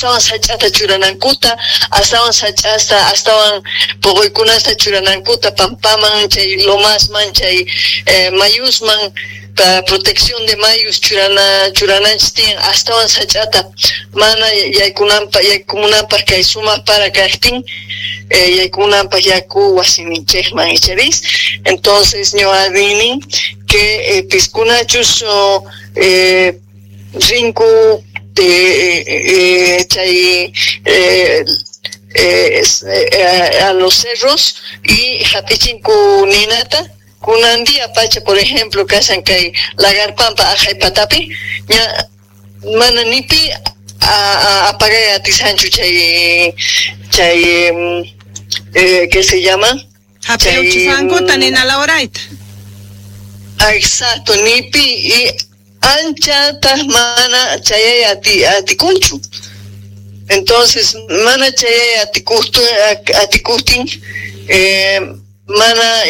Astawan sach'ata churanankuta, astawan sach'asta, astawan poqoykunasta churanankuta pampaman, chay lomasman, chay mayusman, protección de mayus churananchis tiyan, astawan sach'ata mana yaykunanpaq, yaykumunanpaq kay sumaq para kaqtin, yaykumunanpaq yaku wasininchikman, icharis. Entonces ñuqa rini que piskunachus rinku chay a los cerros y hap'ichinku ninata. Kunan día pacha, por ejemplo, kashan kay Lagarpampa aqhay patapi, ña mana nipi apagay atisanchu chay ¿qué se llama? Hap'iuchisankuta nina lawrayta. Exacto, nipi y anchata mana chayay atikunchu. Entonces, mana chayay atikuhtin, mana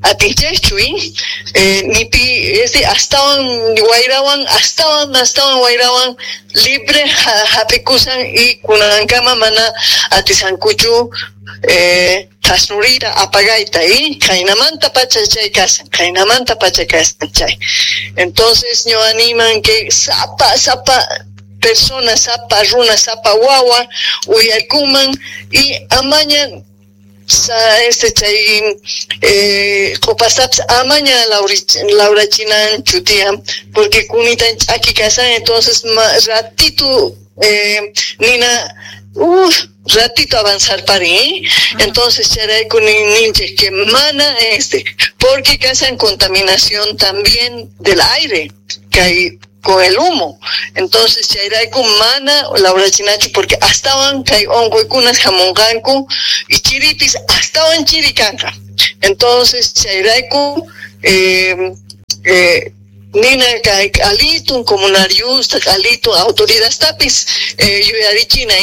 atinchaychu, nipi astawan wayrawan, astawan wayrawan libre hap'ikusan y kunankama mana atisankuchu thasnuriyta apagayta y khaynamanta pacha chay kasan, khaynamanta pacha kasan chay. Entonces ñuqa animan que sapa sapa persona, sapa runa, sapa wawa uyarkuman y amaña chay q'upastapis amaña lawrachinanchu tiyan, porque kunitan ch'aki kasan, entonces ratito nina ratito avanzar parin, entonces chayrayku ninchik que mana porque kasan contaminación también del aire kay con el humo. Entonces chayrayku mana lawrachinachu, porque astawan kay unquykunas hamunqanku y chiripis astawan chiri kanqa. Entonces chayrayku nina kay k'alitun comunariusta, k'alitun autoridadtapis yuyarichina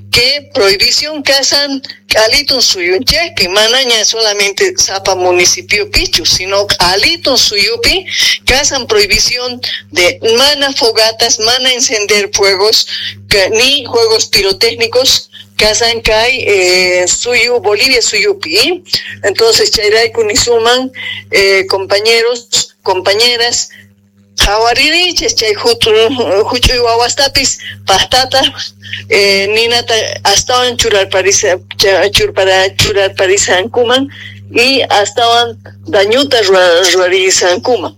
que prohibición kasan k'alitun suyunchikpi, manaña solamente sapa municipiopichu, sino k'alitun suyupi kasan prohibición de mana fogatas, mana encender fuegos, ni juegos pirotécnicos kasan kay suyu, Bolivia suyupi. Entonces chayrayku nisuman, compañeros, compañeras, qhawaririchis chay huch'uy wawastapis paqtata ninata astawan churparisankuman y astawan dañuta ruwarisankuman.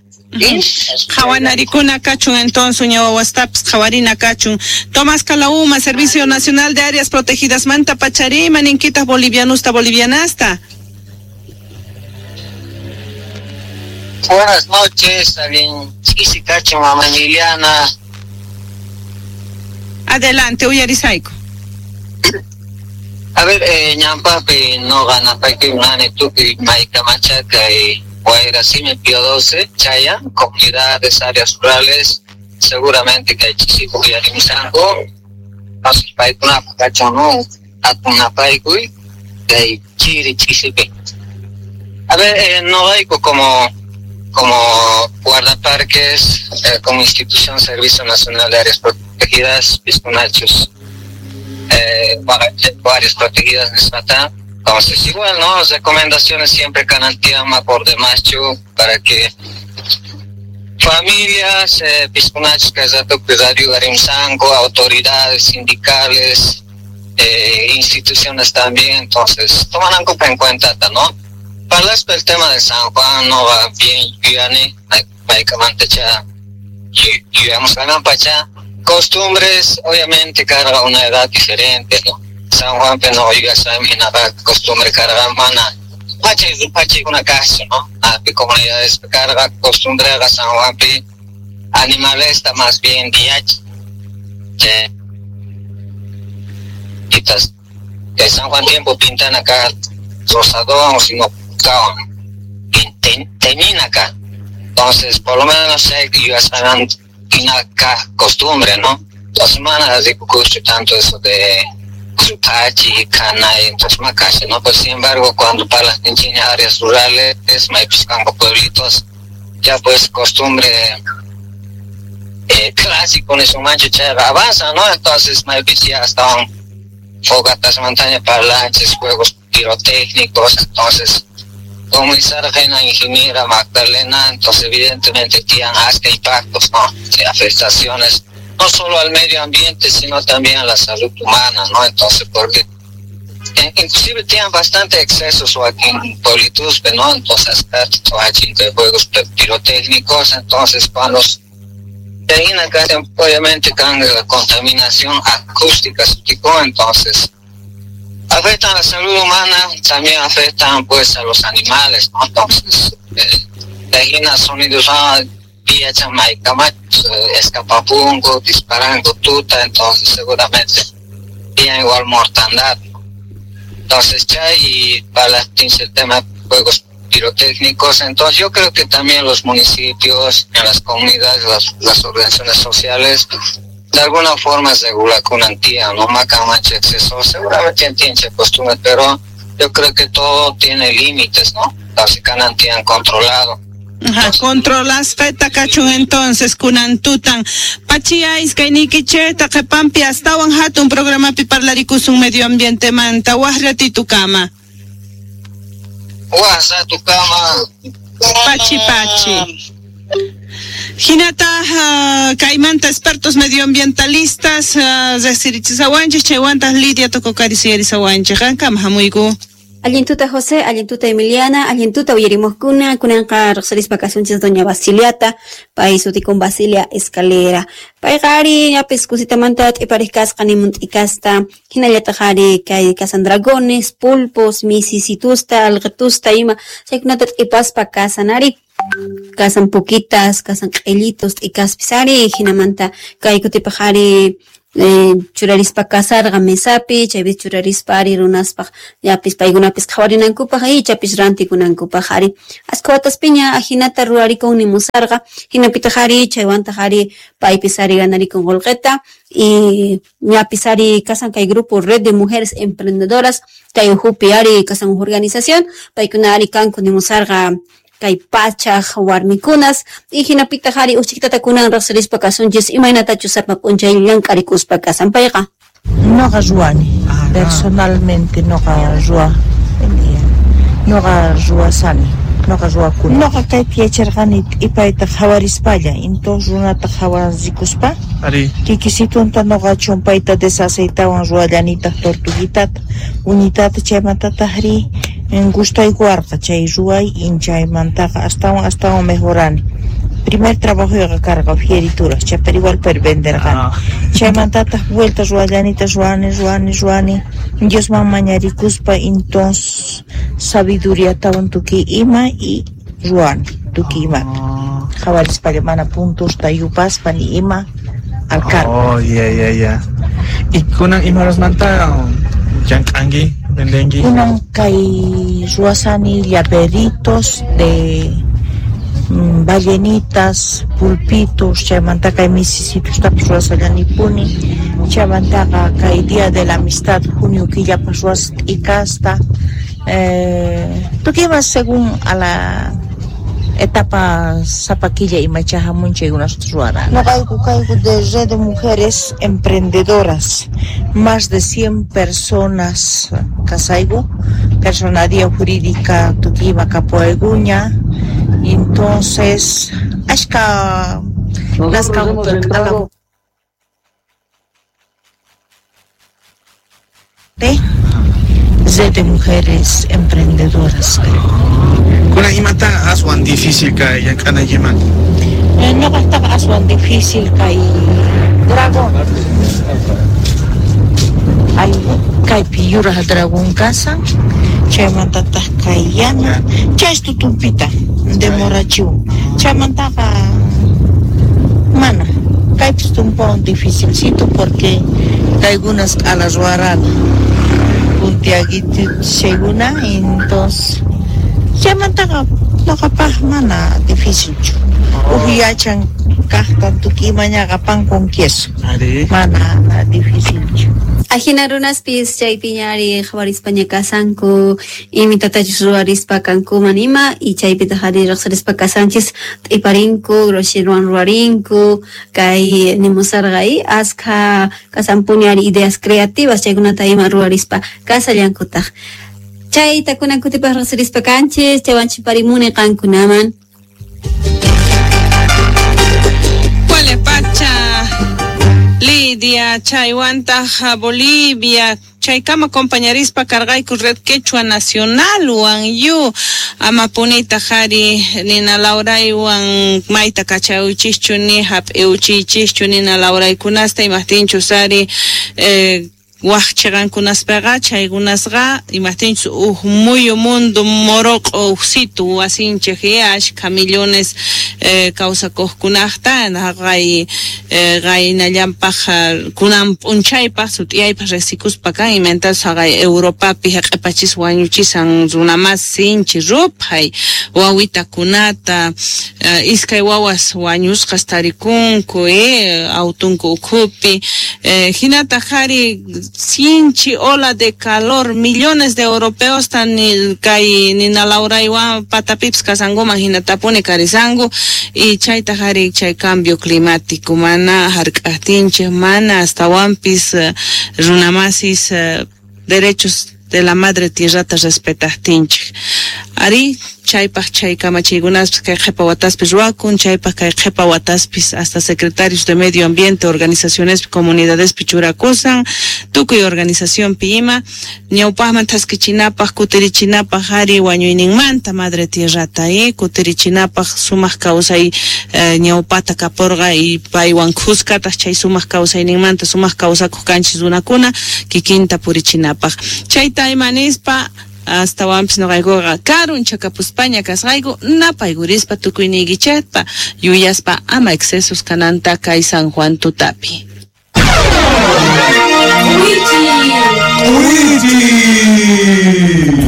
Qhawanarikuna kachun entonces uña wawastapis qhawarina kachun. Tomás Calauma, Servicio Nacional de Áreas Protegidas manta pacharima ninkitas bolivianusta bolivianasta. Buenas noches, alguien Cacho, mamá Liliana. Adelante, uyarisaico. A ver, ñampapi no gana paki nani tupi maika machaca y guairasime pío 12, chaya, comunidades, áreas rurales, seguramente que hay chisico uyarimsango, paikuna cacho no, atuna paikui, de chiri chisipi. A ver, no hay como guardaparques, como institución Servicio Nacional de Áreas Protegidas, Pisconachos, áreas protegidas de. Entonces, igual, ¿no? Recomendaciones siempre canantiama por demás, para que familias, Pisconachos, Radio autoridades sindicales, instituciones también, entonces, toman en cuenta, ¿no? Para el tema de San Juan no va bien, yuyani, mantecha, yuyamos pacha. Costumbres, obviamente, carga una edad diferente, ¿no? San Juan, pero no, ya saben, nada, costumbre carga, mana, pacha, pacha, una casa, ¿no? A comunidades carga, costumbre, San Juan, animales está más bien, día, que San Juan tiempo pintan acá, rosadón, sino teñina acá. Entonces, por lo menos sé que yo saben acá costumbre, ¿no? Las semanas de cucho tanto eso de Pachi, Cana, entonces Macache, ¿no? Pues sin embargo, cuando para las áreas rurales, campo pueblitos, ya pues costumbre clásico nisunmanchu chayqa avanzan, ¿no? Entonces maypis ya estaban fogatas montaña parlanches, juegos pirotécnicos, entonces como una ingeniera Magdalena, entonces evidentemente tienen hasta impactos, ¿no? De afectaciones, no solo al medio ambiente, sino también a la salud humana, ¿no? Entonces, porque inclusive tienen bastante excesos aquí en Pueblituspe, ¿no? Entonces, de juegos pirotécnicos, entonces cuando acá obviamente la contaminación acústica, entonces afectan a la salud humana, también afectan pues a los animales, ¿no? Entonces, de sonidos escapapungo, disparando tuta, entonces seguramente tienen igual mortandad, ¿no? Entonces, ya y para el tema de juegos pirotécnicos, entonces yo creo que también los municipios, en las comunidades, las organizaciones sociales, de alguna forma regula con antía, no macamanche exceso, seguramente tienen costumbre, pero yo creo que todo tiene límites, ¿no? Así que han controlado. Ajá, controlas feta kachun entonces kunantutan pachiais kaynikicheta qhepampi astawan hatun programapi parlarikusun medio ambiente manta waj ratito kama. Waj rato kama. Pachi pachi. Hinata kaymanta expertos medioambientalistas riqsirichisawanchik chaywantaq Lidia Tococari suyarisawanchik qankama hamuyku. Allintuta José, allintuta Emiliana, allintuta uyarimuqkuna, kunanqa riqsirispa kasunchis doña Basiliata, pay sutikun Basilia Escalera. Payqa ari ñapis kusitamanta t'ipariq kasqa nimun t'ikasta, hinallataq ari kay kasan dragones, pulpos, misisitusta, alqitusta ima, chaykunata t'ipaspa kasan ari. Kasan pukitas, kasan q'illitos, t'ikaspis ari, hinamanta kay kutipaq ari churarispa kasarqa mesapi, chaypi churarispa ari runaspaq llapis paykunapis qhawarinankupaq ichapis rantikunankupaq ari. Askha wataspiña ajinata ruwarikun nimusarqa, hinapitaq ari chaywantaq ari paypis ari ganarikun qullqita y ñapis ari kasan kay grupo Red de Mujeres Emprendedoras, kay uhupi ari kasan huk organización, paykuna ari kanku nimusarqa kay pachaq warmikunas y hinapitaq ari uchikitata kunan riqsirispa kasunchis imaynatachus sapa p'unchay llank'arikuspa kasan payqa. Noqa ruwani, personalmente noqa ruwa, noqa ruwasani, noqa ruwakuni. Noqa kaypi yacharqani t'ipayta qhawarispalla, entonces runata qhawarikuspa kikisitunta noqa chumpayta desaceitawan ruwallanitaq tortuguitata, uñitata chaymantataq ri gustaykuwarqa chay ruway chaymantaqa astawan mejorani. Primer trabajoyqa karqa fieritura, chaypar igual pero venderqani. Chaymantataq vuelta ruwallanita ruwani Diosman mañarikuspa entonces sabiduriatawan tukuy ima y ruwani tukuy imata. Qhawarispalla mana puntusta yupaspa ni ima al cargo. Oh, ya. Y kunan imarasmanta llank'anki, vendenki? Kunan kay ruwasani llaveritos de ballenitas, pulpitos, chaymanta kay misisitustapas ruwasallanipuni, chaymantaqa kay Día de la Amistad junio killapas ruwas t'ikasta, tukuy ima según a la etapa sapa killa imacha hamun chaykunasta ruwarani. Noqayku kayku de Red de Mujeres Emprendedoras, más de 100 personas kasayku, personalidad jurídica tukuy ima kapuwaykuña, entonces ashka las Red de Mujeres Emprendedoras. Kuna imata aswan difícil kay llank'anaykiman? Ñuqaqtaqa aswan difícil kay dragón. Ay, kaypi yuraq dragón kasan, chaymantataq kay yana, chay tutumpita demorachiwan. Chaymantaqa mana, kaypis tumpawan dificilcito porque kaykunas q'ala ruwarana. Puntiaguito chaykuna, entonces chaymantaqa ñuqapaq mana dificilchu. Uj yachan kaqta tukuy imañaqa pan con queso. Mana dificilchu. Ajina runaspis chaypiñari qhawarispaña kasanku, imitatachus ruwarispa kankuman ima, y chaypitaq ari riqsirispa kasanchis t'iparinku, grosheruan ruwarinku, kay nimusarqa y askha kasanpuni ari ideas creativas chaykunata ima ruwarispa kasallankutaq. Chayta kunan kutipaq riqsirispa kanchis, chaywan chiparimuni qankunaman. Pacha Lidia, chaywantaj Bolivia, chaykama compañarispa cargayku Red Quechua Nacional wan yu amapunita jari nina lauraywan mayta kachawichischu ni hap'iwchichischu nina lauraykunasta imaqtinchus ari waqchiqankunaspaqa chaykunasqa imaqtinchus uj muyu mundo moroq'o ujsitu wasinchik ashkha millones kawsakuqkunaqta qay qaynallanpaq kunan p'unchaypaq sut'iyaypaq riqsikuspa kan imantas haqay Europapi haq'ipachis wañuchisan runamas sinchi ruphay wawitakunata iskay wawas wañusqas tarikunku autunku ukhupi hinataq qhari sinchi ola de calor millones de europeos tan kay nina lauraywan patapipis kasankuman hinatapuni karisanku y chaytaq ari chay cambio climático mana hark'aqtinchik mana astawanpis runamasis derechos de la madre tierrata respetaqtinchik ari chaypaq chay kamachiykunaspis kay qhipa wataspis ruwakun chaypaq kay qhipa wataspis hasta secretarios de medio ambiente organizacionespi comunidadespi churakusan tukuy organizacionpi ima ñawpaqman thaskichinapaq kutirichinapaq ari wañuyninmanta madre tierrata kutirichinapaq sumaq kawsay ñawpata kapurqa y paywan khuskataq chay sumaq kawsayninmanta sumaq kawsakuq kanchis runakuna kikinta purichinapaq chayta ima nispa astawanpis nuqaykuqa karun chakapuspaña kasqayku napaykurispa tukuyniykichikpa yuyaspa ama excesos kananta kay San Juan tutapi.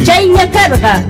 Chayña karqa.